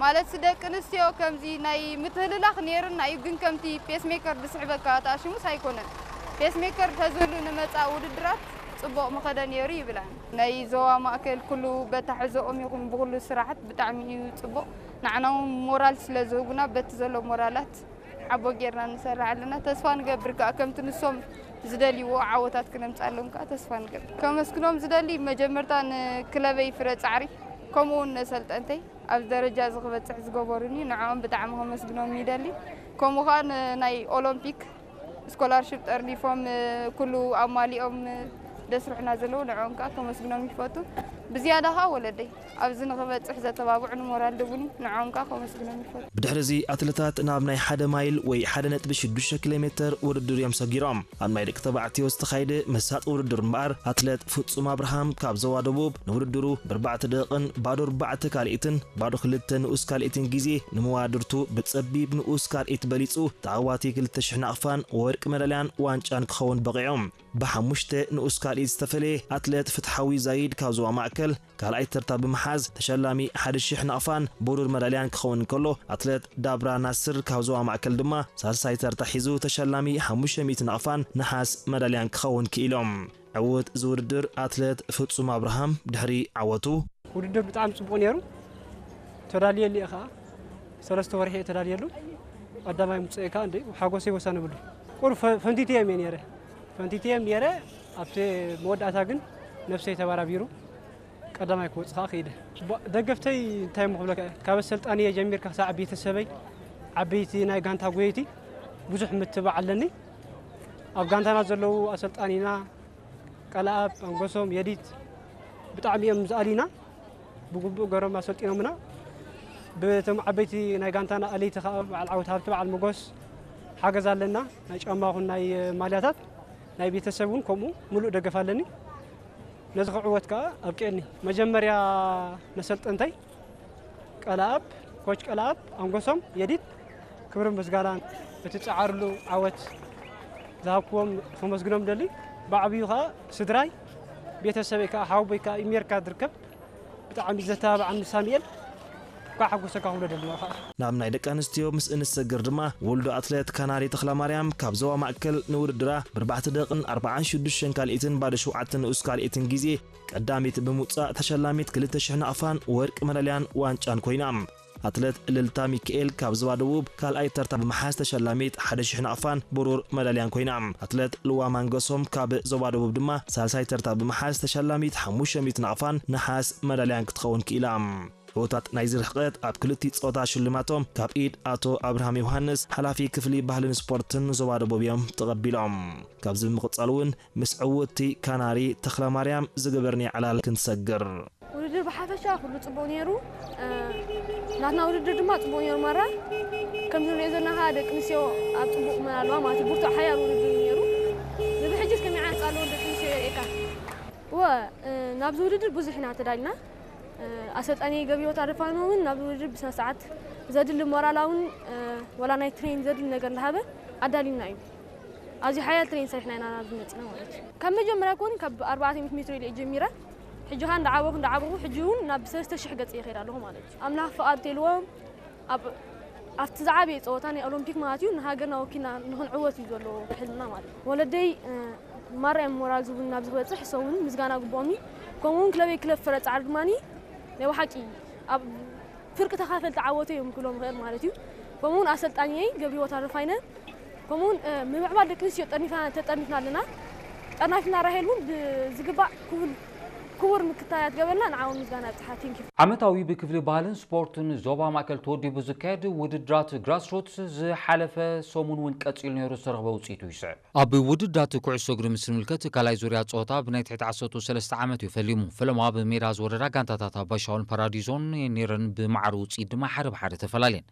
ማለት ደቂ ኣንስትዮ ከምዚ ናይ ምትህልላኽ ነይርና እዩ፣ ግን ከምቲ ፔስሜከር ዝስሕበካ ተኣሽሙስ ኣይኮነን። ፔስሜከር ተዝህሉ ንመጻእ ውድድራት ጽቡቕ ምኸደ ነይሩ ይብላን። ናይ ዞባ ማእከል ኩሉ በታ ሕዞኦም ይኹን ብኹሉ ስራሓት ብጣዕሚ እዩ ጽቡቕ። ንዓና እውን ሞራል ስለ ዝህቡና በቲ ዘሎ ሞራላት ሓቦ ጌርና ንሰርሕ ኣለና። ተስፋ ንገብር ከኣ ከምቲ ንሶም ዝደልይዎ ዓወታት ክነምጻሎም ከኣ ተስፋ ንገብር። ከመስግኖም ዝደሊ መጀመርታ ንክለበይ ፍረ ጻዕሪ ከምኡ እውን ነሰልጠንተይ ኣብዚ ደረጃ እዚ ክበጽሕ ዝገበሩኒ ንዕኦም ብጣዕሚ ከመስግኖም ይደሊ። ከምኡ ከኣ ንናይ ኦሎምፒክ ስኮላርሽፕ ጠርኒፎም ኩሉ ኣማሊኦም ደስርሑና ዘለዉ ንዕኦም ከኣ ከመስግኖም ይፈቱ። ብዝያዳ ከኣ ወለደይ ኣብዚ ንኽበጽሕ ዘተባብዑ ንሞራል ድቡኒ ንዕኦም ከኣ ከመስግኖም ይፈቱ። ብድሕሪ እዚ ኣትለታት ናብ ናይ ሓደ ማይል ወይ ሓደ ነጥቢ ሽዱሽተ ኪሎ ሜተር ውድድር እዮም ሰጊሮም። ኣብ ናይ ደቂ ተባዕትዮ ዝተኻየደ መሳጢ ውድድር እምበኣር ኣትለት ፍጹም ኣብርሃም ካብ ዞባ ደቡብ ንውድድሩ ብኣርባዕተ ደቂቕን ባዶ ኣርባዕተ ካልኢትን ባዶ ክልተ ንኡስ ካልኢትን ግዜ ንመዋድርቱ ብጸቢብ ንኡስ ካልኢት በሊጹ ተዓዋቲ ክልተ ሽሕ ናቕፋን ወርቂ መዳልያን ዋንጫን ክኸውን በቒዑ። ብሓሙሽተ ንኡስ ካልኢት ዝተፈለየ ኣትለት ፍትሓዊ ዛይድ ካብ ዞባ ማእከል ካልኣይ ተርታ ብምሓዝ ተሸላሚ ሓደ ሽሕ ናቕፋን ብሩር መዳልያን ክኸውን እንከሎ፣ ኣትለት ዳብራ ናስር ካብ ዞባ ማእከል ድማ ሳልሳይ ተርታ ሒዙ ተሸላሚ ሓሙሽተ ሚእቲ ናቕፋን ነሓስ መዳልያን ክኸውን ክኢሎም። ዕዉት ዝውድድር ኣትለት ፍጹም ኣብርሃም ድሕሪ ዓወቱ፣ ውድድር ብጣዕሚ ጽቡቕ ነይሩ። ተዳልየሉ እየ ከኣ። ሰለስተ ወርሒ እየ ተዳልየሉ። ቀዳማይ ምጽእ ከኣ እንደ ሓጎሰይ ወሰን ብሉ። ቁር ፈ-፣ ፈንቲትየ እየ ነይረ። ፈንቲትየ እየ ነይረ። ኣብቲ መወዳእታ ግን ነብሰይ ተባራቢሩ ቀዳማይ ክወጽእ ከኣ ክኢለ። ባ-፣ ደገፍተይ እንታይ እሞ ክብለካ እየ? ካብ ኣሰልጣንየ ጀሚርካ ክሳዕ ቤተሰበይ፣ ዓበይቲ ናይ ጋንታ ጎየይቲ ብዙሕ ምትባዕ ኣለኒ። ኣብ ጋንታና ዘለዉ ኣሰልጣኒና፣ ቀለኣብ፣ ኣንጎሶም፣ የዲት ብጣዕሚ እዮም ዝኣልዩና። ብግቡእ ገሮም ኣሰልጢኖምና። ብቶም ዓበይቲ ናይ ጋንታና ኣለይቲ ከኣ በዓል ዓወት ሃብቲ፣ በዓል መጎስ ሓገዝ ኣለና። ናይ ጫማ ኹን ናይ ማልያታት ናይ ቤተሰብ እውን ከምኡ ምሉእ ደገፍ ኣለኒ። ነዚ ክዕወት ከኣ ኣብቂዕኒ። መጀመርያ ነሰልጠንተይ ቀለኣብ፣ ኮች ቀለኣብ፣ ኣንጎሶም፣ የዲት ክብርን ምስጋናን እቲ ጸዓርሉ ዓወት ዝሃብክዎም ከመስግኖም ደሊ። ብዓብዩ ከኣ ስድራይ፣ ቤተሰበይ ከኣ ሓወቦይ ከኣ ኣሜሪካ ዝርከብ ብጣዕሚ ዘተባብዓኒ ሳሙኤል እኳ ሓጎሰካ ክብሎ ደሊ ከኣ። ናብ ናይ ደቂ ኣንስትዮ ምስ እንሰግር ድማ ውልዶ ኣትሌት ካናሪ ተኽለማርያም ካብ ዞባ ማእከል ንውድድራ ብኣርባዕተ ደቂቕን ኣርባዓን ሽዱሽተን ካልኢትን ባዶ ሸውዓተ ንኡስ ካልኢትን ግዜ ቀዳሚት ብምውጻእ ተሸላሚት ክልተ ሽሕ ናቕፋን ወርቂ መዳልያን ዋንጫን ኮይና። ኣትለት እልልታ ሚካኤል ካብ ዞባ ደቡብ ካልኣይ ተርታ ብምሓዝ ተሸላሚት ሓደ ሽሕ ናቕፋን ብሩር መዳልያን ኮይና። ኣትለት ልዋ ማንገሶም ካብ ዞባ ደቡብ ድማ ሳልሳይ ተርታ ብምሓዝ ተሸላሚት ሓሙሽተ ሚእቲ ናቕፋን ነሓስ መዳልያን ክትኸውን ክኢላ። ዕዉታት ናይዚ ርሕቀት ኣብ ክልቲኡ ጾታ ሽልማቶም ካብ ኢድ ኣቶ ኣብርሃም ዮሃንስ፣ ሓላፊ ክፍሊ ባህልን ስፖርትን ዞባ ደቡብ እዮም ተቐቢሎም። ካብዚ ብምቕጻል እውን ምስ ዕውትቲ ካናሪ ተኽለማርያም ዝገበርናዮ ዕላል ክንሰግር። ውድድር ብሓፈሻ ኩሉ ጽቡቕ ነይሩ። እ፣ ናትና ውድድር ድማ ጽቡቕ ነይሩ። ማራ ከምዚ ንሪኦ ዘለና ከኣ ደቂ ኣንስትዮ ኣብ ጽቡቕ ቁመና ኣለዋ ማለት እዩ። ብርቱዕ ሓያል ውድድር እዩ ነይሩ። ንብሕጂስ ከመይ ዓይነት ኣለዎ ደቂ ኣንስትዮ የርእየካ። እወ፣ እ፣ ናብዚ ውድድር ብዙሕ ኢና ተዳሊና። እ፣ ኣሰልጣኒ ገቢዎት ኣረፋኖ እውን ናብዚ ውድድር ብስነ ስርዓት ዘድሊ ሞራላውን፣ እ፣ ወላ ናይ ትሬን ዘድሊ ነገር እንዳሃበ ኣዳሊና እዩ። ኣዝዩ ሓያል ትሬን ሰሪሕና ኢና ናብዚ መጺና ማለት እዩ። ካብ መጀመርያ ኮኒ ካብ ኣርባዕተ ሚእቲ ሜትሮ ኢለ እየ ጀሚረ። ሕጂ ኸኣ እንዳዓበኹ እንዳዓበኹ ሕጂ እውን ናብ ሰለስተ ሽሕ ገጽ እየ ከይድ ኣለኹ ማለት እዩ። ኣምላኽ ፍቓድ ተልዎም ኣብ፣ ኣብቲ ዝዓበየ ጸወታ ናይ ኦሎምፒክ ማለት እዩ ንሃገርና ወኪልና ንኽንዕወት እዩ ዘሎ ሕልምና ማለት እዩ። ወለደይ፣ እ፣ ማራ እዮም ሞራል ዝህቡኒ ናብዚ ክበጽሕ፣ እሶም እውን ምስጋና ግብኦም እዩ። ከምኡ እውን ክለበይ ክለብ ፍረ ጻዕሪ ድማኒ ናይ ብሓቂ ኣብ ፍርቂ ተኻፈልቲ ዓወተይ እዮም ክብሎም ይኽእል ማለት እዩ። ከምኡ እውን ኣሰልጣኒየይ ገብረህይወት ኣረፋይነ፣ ከምኡ እውን፣ እ፣ ምምዕባል ደቂ ኣንስትዮ ጠርኒፍና፣ ተጠርኒፍና ኣለና። ጠርናፊና ራሄል እውን ብዝግባእ ክቡር፣ ክቡር ምክትታላት ገበርና ንዓ እውን ምስጋና ኣብጽሓ። ቴንኪዩ። ዓመታዊ ብክፍሊ ባህልን ስፖርትን ዞባ ማእከል ተወዲቡ ዝካየድ ውድድራት ግራስሩትስ ዝሓለፈ ሰሙን እውን ቀጺሉ ነይሩ ዝተረኽበ ውጽኢቱ ይስዕብ። ኣብ ውድድራት ኩዕሶ እግሪ ምስ ንምልከት ካልኣይ ዙርያ ጸወታ ብናይ ትሕቲ ዓሰርተ ሰለስተ ዓመት እዩ ፈሊሙ። ፈለማ ብሜዳ ዝወረዳ ጋንታታት ኣባሻውን ፓራዲዞን ነይረን ብማዕረ ውጽኢት ድማ ሓደ ብሓደ ተፈላለየን።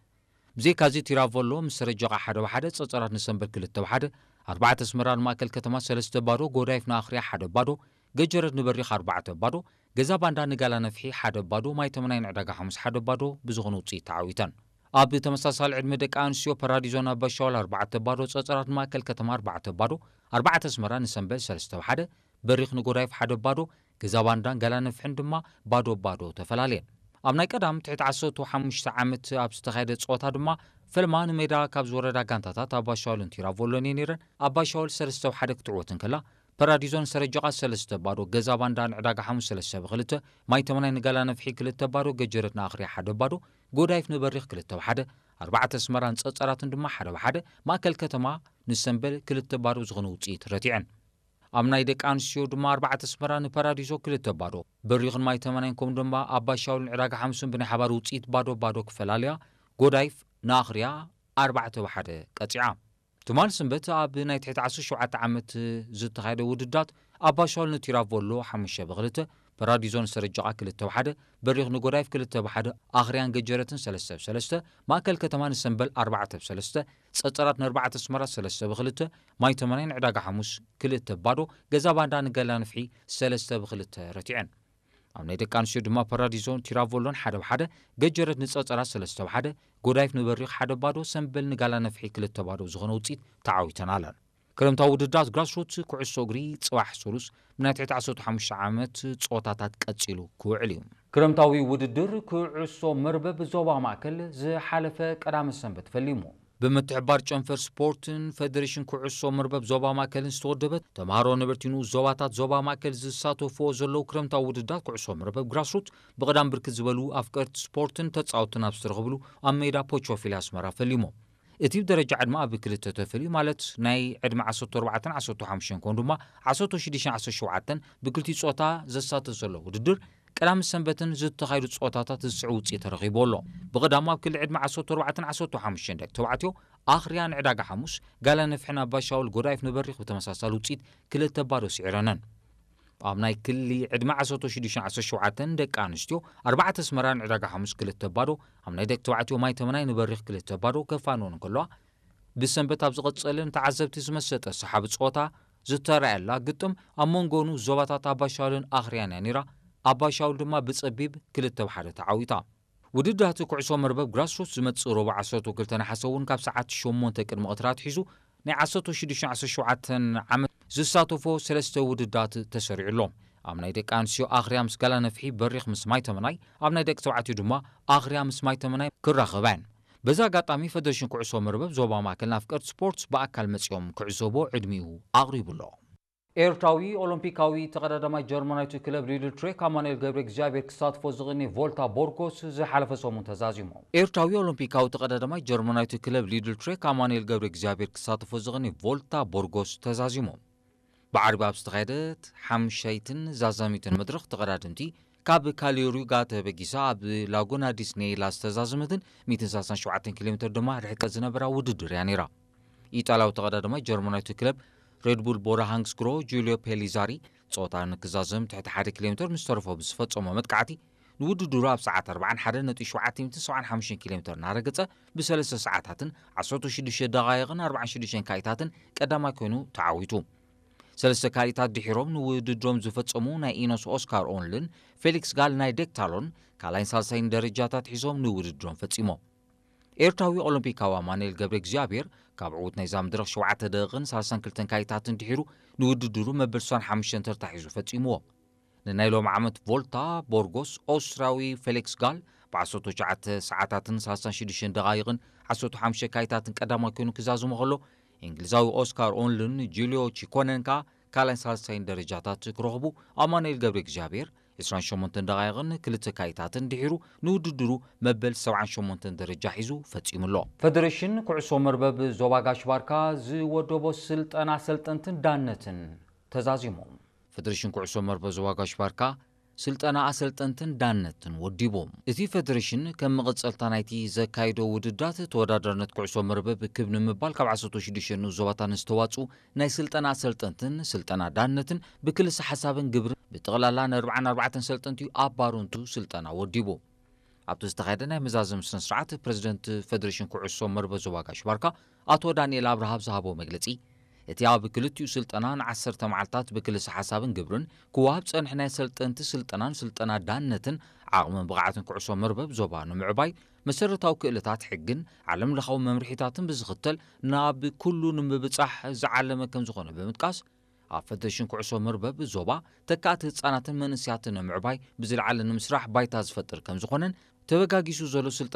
ብዘይካዚ ቲራቮሎ ምስ ሰረጀቓ ሓደ ብሓደ፣ ጸጸራት ንሰንበል ክልተ ብሓደ፣ ኣርባዕተ ኣስመራ ንማእከል ከተማ ሰለስተ ባዶ፣ ጎዳይፍ ንኣኽርያ ሓደ ባዶ፣ ገጀረት ንበሪኽ ኣርባዕተ ባዶ፣ ገዛ ባንዳ ንጋላ ነፍሒ ሓደ ባዶ፣ ማይ ተመናይ ንዕዳጋ ሓሙስ ሓደ ባዶ ብዝኾነ ውጽኢት ተዓዊተን። ኣብ ተመሳሳሊ ዕድመ ደቂ ኣንስትዮ ፓራዲዞን ኣባሻውል ኣርባዕተ ባዶ፣ ጸጸራት ንማእከል ከተማ ኣርባዕተ ባዶ፣ ኣርባዕተ ኣስመራ ንሰንበል ሰለስተ ብሓደ፣ በሪኽ ንጎዳይፍ ሓደ ባዶ፣ ገዛ ባንዳን ጋላ ነፍሕን ድማ ባዶ ባዶ ተፈላለየን። ኣብ ናይ ቀዳም ትሕቲ ዓሰርተ ሓሙሽተ ዓመት ኣብ ዝተኻየደ ጸወታ ድማ፣ ፈልማ ንሜዳ ካብ ዝወረዳ ጋንታታት ኣባሻውልን ቲራቮሎን እየን ነይረን። ኣባሻውል ሰለስተ ብ ሓደ ክትዕወት እንከላ፣ ፓራዲዞን ሰረጀቓ ሰለስተ ብ ባዶ፣ ገዛ ባንዳ ንዕዳጋ ሓሙስ ሰለስተ ብ ክልተ፣ ማይ ተመናይ ንጋላ ነፍሒ ክልተ ብ ባዶ፣ ገጀረት ንኣኽርያ ሓደ ብ ባዶ፣ ጎዳይፍ ንበሪኽ ክልተ ብ ሓደ፣ ኣርባዕተ ኣስመራን ጸጸራትን ድማ ሓደ ብ ሓደ፣ ማእከል ከተማ ንሰምበል ክልተ ብ ባዶ ዝኾነ ውጽኢት ረቲዐን። ኣብ ናይ ደቂ ኣንስትዮ ድማ ኣርባዕተ ኣስመራ ንፓራዲዞ ክልተ ብ ባዶ፣ በሪኽን ማይ ተመናይን ከምኡ ድማ ኣባሻውልን ዕዳጋ ሓሙስን ብናይ ሓባር ውጽኢት ባዶ ብ ባዶ ክፈላልያ፣ ጎዳይፍ ንኣኽርያ ኣርባዕተ ብ ሓደ ቀጺዓ። ትማል ሰንበት ኣብ ናይ ትሕቲ ዓሰርተ ሸውዓተ ዓመት ዝተኻየደ ውድዳት፣ ኣባሻውል ንቲራቮሎ ሓሙሽተ ብ ክልተ፣ ፓራዲዞ ንሰረጀቓ ክልተ ብ ሓደ፣ በሪኽ ንጎዳይፍ ክልተ ብ ሓደ፣ ኣኽርያን ገጀረትን ሰለስተ ብ ሰለስተ፣ ማእከል ከተማ ንሰምበል ኣርባዕተ ብ ሰለስተ፣ ጸጸራት ንኣርባዕተ ኣስመራ ሰለስተ ብ ክልተ፣ ማይ ተመናይ ንዕዳጋ ሓሙስ ክልተ ብ ባዶ፣ ገዛ ባንዳ ንገላ ንፍሒ ሰለስተ ብ ክልተ ረቲዐን። ኣብ ናይ ደቂ ኣንስትዮ ድማ ፓራዲዞን ቲራቮሎን ሓደ ብ ሓደ፣ ገጀረት ንጸጸራት ሰለስተ ብ ሓደ፣ ጎዳይፍ ንበሪኽ ሓደ ብ ባዶ፣ ሰምበል ንጋላ ነፍሒ ክልተ ብ ባዶ ዝኾነ ውጽኢት ተዓዊተን ኣለን። ክረምታዊ ውድድራት ግራስሩት ኩዕሶ እግሪ ጽባሕ ሰሉስ ብናይ ትሕቲ ዓሰርተ ሓሙሽተ ዓመት ጸወታታት ቀጺሉ ክውዕል እዩ። ክረምታዊ ውድድር ኩዕሶ መርበብ ዞባ ማእከል ዝሓለፈ ቀዳመ ሰንበት ፈሊሙ። ብምትሕብባር ጨንፈር ስፖርትን ፌደሬሽን ኩዕሶ መርበብ ዞባ ማእከልን ዝተወደበት፣ ተምሃሮ ነበርቲ ንኡስ ዞባታት ዞባ ማእከል ዝሳተፍዎ ዘለዉ ክረምታዊ ውድድራት ኩዕሶ መርበብ ግራስሩት ብቐዳም ብርክት ዝበሉ ኣፍቀርቲ ስፖርትን ተጻወትን ኣብ ዝተረኽብሉ ኣብ ሜዳ ፖቾፊሊ ኣስመራ ፈሊሞም። እቲ ብደረጃ ዕድመ ኣብ ክልተ ተፈልዩ፣ ማለት ናይ ዕድመ ዓሰርተ ኣርባዕተን ዓሰርተ ሓሙሽተን ከምኡ ድማ ዓሰርተ ሽዱሽተን ዓሰርተ ሸውዓተን ብክልቲኡ ጾታ ዘሳተፍ ዘሎ ውድድር፣ ቀዳምን ሰንበትን ዝተኻየዱ ጸወታታት ዝስዕብ ውጽኢት ተረኺቡ ኣሎ። ብቐዳም ኣብ ክሊ ዕድመ ዓሰርተ ኣርባዕተን ዓሰርተ ሓሙሽተን ደቂ ተባዕትዮ ኣኽርያ ንዕዳጋ ሓሙስ፣ ጋላ ነፍሕን ኣባሻውል ጎዳይፍ ንበሪኽ ብተመሳሳሊ ውጽኢት ክልተ ብ ባዶ ስዒረነን። ኣብ ናይ ክሊ ዕድመ ዓሰርተ ሽዱሽተን ዓሰርተ ሸውዓተን ደቂ ኣንስትዮ ኣርባዕተ ኣስመራ ንዕዳጋ ሓሙስ ክልተ ብ ባዶ፣ ኣብ ናይ ደቂ ተባዕትዮ ማይ ተመናይ ንበሪኽ ክልተ ብ ባዶ ከፋንወን እንከለዋ፣ ብሰንበት ኣብ ዝቐጸለ ንተዓዘብቲ ዝመሰጠ ሰሓቢ ጸወታ ዝተራእየላ ግጥም ኣብ መንጎ ንኡስ ዞባታት ኣባሻውልን ኣኽርያን እያ ነይራ። ኣባሻውል ድማ ብጸቢብ ክልተ ብ ሓደ ተዓዊታ። ውድድራት ኩዕሶ መርበብ ግራስሩት ዝመጽእ ረቡዕ ዓሰርተ ክልተ ነሓሰ እውን ካብ ሰዓት ሸሞንተ ቅድሚ ቀትሪ ኣትሒዙ ናይ ዓሰርተ ሽዱሽተ ዓሰርተ ሸውዓተ ዓመት ዝሳተፎ ሰለስተ ውድዳት ተሰሪዑ ኣሎ። ኣብ ናይ ደቂ ኣንስትዮ ኣኽርያ ምስ ጋላ ነፍሒ፣ በሪኽ ምስ ማይ ተመናይ፣ ኣብ ናይ ደቂ ተባዕትዮ ድማ ኣኽርያ ምስ ማይ ተመናይ ክራኸባ እየን። በዚ ኣጋጣሚ ፌደሬሽን ኩዕሶ መርበብ ዞባ ማእከል ንኣፍቀርቲ ስፖርት ብኣካል መጺኦም ክዕዘቦ ዕድሚኡ ኣቕሪቡ ኣሎ። ኤርትራዊ ኦሎምፒካዊ ተቐዳዳማይ ጀርመናዊቱ ክለብ ሊድል ትሬክ ኣማኑኤል ገብረ እግዚኣብሔር ክሳትፎ ዝቕኒ ቮልታ ቦርጎስ ዝሓለፈ ሰሙን ተዛዚሙ። ኤርትራዊ ኦሎምፒካዊ ተቐዳዳማይ ጀርመናዊቱ ክለብ ሊድል ትሬክ ኣማኑኤል ገብረ እግዚኣብሔር ክሳትፎ ዝቕኒ ቮልታ ቦርጎስ ተዛዚሙ። ብዓርቢ ኣብ ዝተኻየደት ሓምሻይትን ዛዛሚትን መድረኽ ተቐዳደምቲ ካብ ካሊዮሪጋ ተበጊሳ ኣብ ላጉና ዲስኔላ ዝተዛዘመትን ሚእትን ሰላሳን ሸውዓተን ኪሎ ሜትር ድማ ርሕቀት ዝነበራ ውድድር እያ ነይራ። ኢጣልያዊ ተቐዳዳማይ ጀርመናዊቱ ክለብ ሬድቡል ቦራ ሃንግስግሮ ጁልዮ ፔሊዛሪ ጸወታ ንክዛዘም ትሕቲ ሓደ ኪሎ ሜትር ምስ ተረፎ ብዝፈጸሞ መጥቃዕቲ ንውድድሩ ኣብ ሰዓት ኣርባዓን ሓደን ነጥቢ ሸውዓተ ሚእትን ሰብዓን ሓሙሽተን ኪሎ ሜትር እናረገጸ ብሰለስተ ሰዓታትን ዓሰርተ ሽዱሽተ ደቓይቕን ኣርባዓን ሽዱሽተን ካኢታትን ቀዳማይ ኮይኑ ተዓዊቱ። ሰለስተ ካሊታት ድሒሮም ንውድድሮም ዝፈጸሙ ናይ ኢኖስ ኦስካር ኦንልን ፌሊክስ ጋል ናይ ዴክታሎን ካልኣይን ሳልሳይን ደረጃታት ሒዞም ንውድድሮም ፈጺሞም። ኤርትራዊ ኦሎምፒካዊ ኣማኑኤል ገብረ እግዚኣብሔር ካብ ዕዉት ናይዛ መድረኽ ሸውዓተ ደቂቕን ሰላሳን ክልተን ካሊታትን ድሒሩ ንውድድሩ መበል ስሳን ሓሙሽተን ተርታ ሒዙ ፈጺምዎ። ንናይ ሎም ዓመት ቮልታ ቦርጎስ ኦስትራዊ ፌሊክስ ጋል ብ ዓሰርተ ትሽዓተ ሰዓታትን ሰላሳን ሽዱሽተን ደቓይቕን ዓሰርተ ሓሙሽተ ካሊታትን ቀዳማይ ኮይኑ ክዛዝሞ ከሎ፣ እንግሊዛዊ ኦስካር ኦንልን ጁልዮ ቺኮነን ከኣ ካልኣይን ሳልሳይን ደረጃታት ክረኽቡ፣ ኣማኑኤል ገብረ እግዚኣብሔር ዕስራን ሸሞንተን ደቓይቕን ክልተ ካሊታትን ድሒሩ ንውድድሩ መበል ሰብዓን ሸሞንተን ደረጃ ሒዙ ፈጺሙ ኣሎ። ፌደሬሽን ኩዕሶ መርበብ ዞባ ጋሽ ባርካ ዝወደቦ ስልጠና ኣሰልጠንትን ዳነትን ተዛዚሙ። ፌደሬሽን ኩዕሶ መርበብ ዞባ ጋሽ ባርካ ስልጠና ኣሰልጠንትን ዳነትን ወዲቡ። እቲ ፌደሬሽን ከም መቐጸልታ ናይቲ ዘካየዶ ውድድራት ተወዳዳርነት ኩዕሶ መርበብ ክብ ንምባል ካብ ዓሰርተ ሽዱሽተ ንኡስ ዞባታት ንዝተዋጽኡ ናይ ስልጠና ኣሰልጠንትን ስልጠና ዳነትን ብክልሰ ሓሳብን ግብርን ብጠቕላላ ንኣርባዓን ኣርባዕተን ሰልጠንቲ ኣብ ባረንቱ ስልጠና ወዲቡ። ኣብቲ ዝተኻየደ ናይ መዛዘሚ ስነ ስርዓት ፕሬዝደንት ፌደሬሽን ኩዕሶ መርበብ ዞባ ጋሽ ባርካ ኣቶ ዳንኤል ኣብርሃ ኣብ ዝሃቦ መግለጺ፣ እቲ ኣብ ክልቲኡ ስልጠና ንዓሰርተ መዓልታት ብክልሰ ሓሳብን ግብርን ክወሃብ ዝጸንሐ ናይ ሰልጠንቲ ስልጠናን ስልጠና ዳነትን ዓቕምን ብቕዓትን ኩዕሶ መርበብ ዞባ ንምዕባይ መሰረታዊ ክእለታት ሕግን ዓለም ለኻዊ መምርሒታትን ብዝኽተል ናብ ኩሉ ንምብጻሕ ዝዓለመ ከም ዝኾነ ብምጥቃስ፣ ኣብ ፈደሬሽን ኩዕሶ መርበብ ዞባ ተካእቲ ህጻናትን መንእሰያትን ንምዕባይ ብዝለዓለ ንምስራሕ ባይታ ዝፈጥር ከም ዝኾነን ተበጋጊሱ ዘሎ ስልጠና